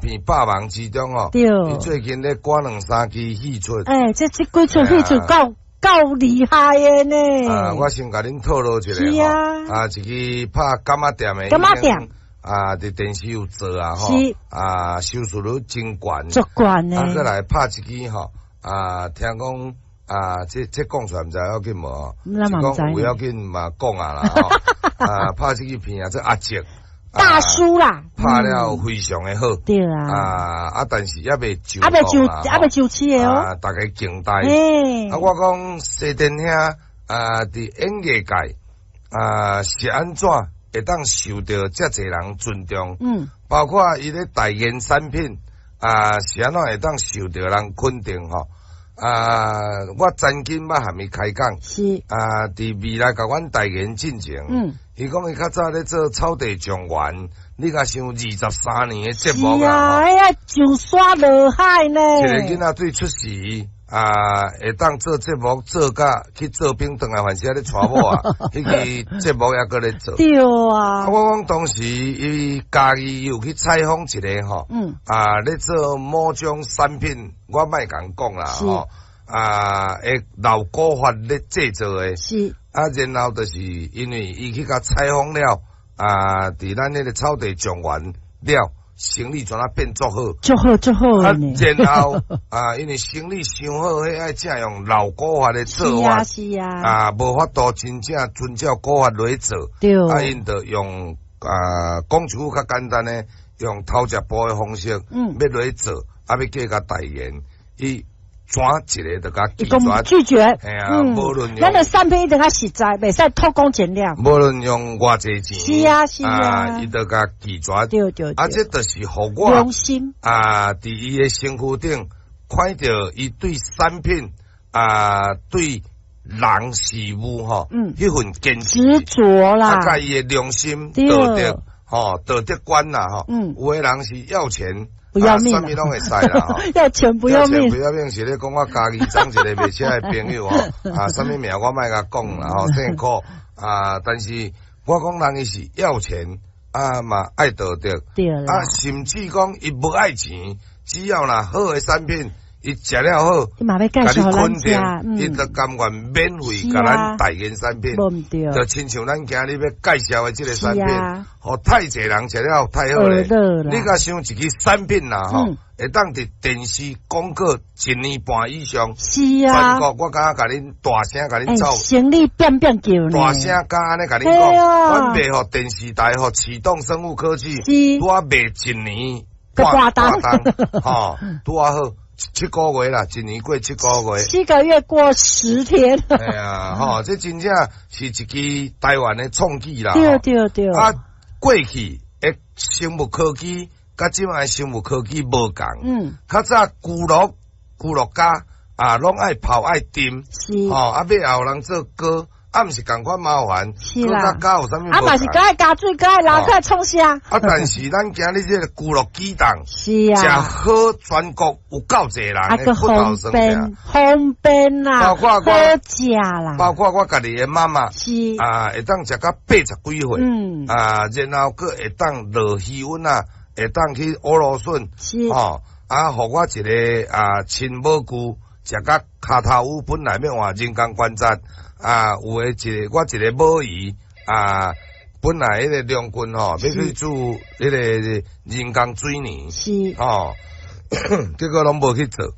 片百忙之中吼，伊最近咧趕兩三支戲出。欸，這幾齣戲出夠厲害的呢。啊，我先共恁透露一下吼，啊，一支拍柑仔店的，柑仔店啊，佇電視有做啊，吼，啊，收視率真懸，足懸呢。啊，閣來拍一支吼，啊，聽講啊，這講出來毋知要緊無？是講有要緊嘛講啊啦，吼，啊，拍這支片啊，這阿叔。大叔啦，拍了非常的好，對啊，啊，但是猶未上，猶未上市的哦，啊，大家敬待。啊，我講西電兄啊，佇演藝界啊是按怎會當受著遮濟人尊重？包括伊咧代言產品啊，是按怎會當受著人肯定吼？啊，我曾經捌含伊開講，啊，佇未來共阮代言進前，伊講伊較早咧做草地狀元，你共想23年的節目啊，哎呀，上山落海呢。一个囡仔對出世啊，會當做節目做甲去做兵轉來，還是咧娶某啊？彼个節目猶閣咧做。對啊。我講當時伊家己有去採訪一個吼，啊，咧做某種產品，我莫共講啦吼，啊，會老古法咧製作的。啊，然後就是因為伊去共採訪了，啊，佇咱彼個草地狀元了，生意怎啊變足好，足好足好。啊，然後啊，因為生意傷好，彼愛正用老古法的做法，啊，無法度真正遵照古法來做，啊，𪜶就用啊，講一句較簡單的，用偷食步的方式，欲來做，啊，欲叫共代言，伊怎一个就共拒絕，拒絕，嘿啊，無論咱的產品一定較實在，袂使偷工減料。無論用偌濟錢，伊就共拒絕。啊，這就是予我良心啊，佇伊的身軀頂看著伊對產品啊，對人事物吼，彼份堅持執著啦，啊，佮伊的良心道德吼，道德觀啦吼，有的人是要錢不要命，啥物攏會使啦，要錢不要命，要錢不要命是咧講我家己長一個賣車的朋友吼，啊，啥物名我莫共講啦吼，姓柯啊，但是我講人伊是要錢啊嘛愛道德，啊，甚至講伊無愛錢，只要若好的產品，伊食了好，伊嘛欲介紹肯定，伊就甘願免費共咱代言產品，就親像咱今日欲介紹的這个產品，予太濟人食了太好咧。你共想一支產品啦吼，會當佇電視廣告一年半以上，全國我敢共恁大聲共恁走，生意變變叫呢，大聲敢按呢共恁講，阮賣予電視台予啟動生物科技，拄仔賣一年半檔，吼，拄仔好。七個月啦，一年過七個月，7個月過10天。哎呀，吼，這真正是一支台灣的創舉啦。對對對。啊，過去的生物科技，佮這擺生物科技無仝。較早蒟蒻、蒟蒻膠啊，攏愛泡愛浸。吼，啊，尾後人做膏。啊，毋是仝款麻煩，是啦。膠有啥物？啊，嘛是閣愛加水，閣愛撈閣愛創啥？啊，但是咱今日這个蒟蒻啟動，是啊，食好全國有夠濟人的骨頭方便方便啦，包括好食啦，包括我家己的媽媽，啊，會當食到80幾歲，啊，然後閣會當落魚塭啊，會當去烏蘆筍，吼，啊，予我一个啊親母舅食甲跤頭趺，本來欲換人工關節。啊，有的一个我一个母姨啊，本來彼個良君吼，欲去注彼個人工水泥，吼，結果攏無去做。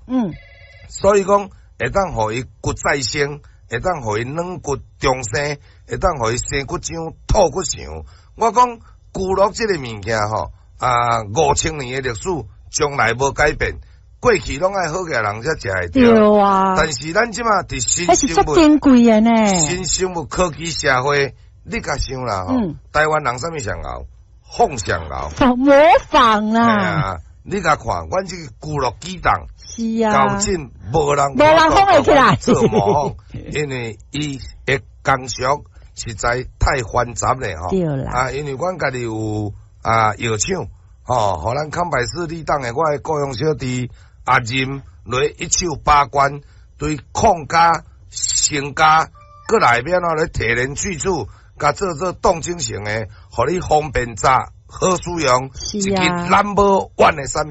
所以講會當予伊骨再生，會當予伊軟骨重生，會當予伊生骨漿、吐骨腸。我講蒟蒻這個物件吼，啊，5000年的歷史從來無改變。過去攏愛好額人才食會著，對啊。但是咱這馬佇新生物，珍貴的呢。新生物科技社會，你共想啦吼，台灣人啥物上𠢕？仿上𠢕，模仿啦。啊，你共看，阮這個蒟蒻啟動，啊，到今無人無人仿會起來做模仿，因為伊的工序實在太繁雜咧吼。對啦。啊，因為阮家己有啊藥廠，吼，予咱康百氏利當的我的雇傭小弟阿任來一手把關，對礦加、成加，閣內面啊咧提煉萃取，共做做凍精成的，予你方便炸、好使用，一支 number one 的產品。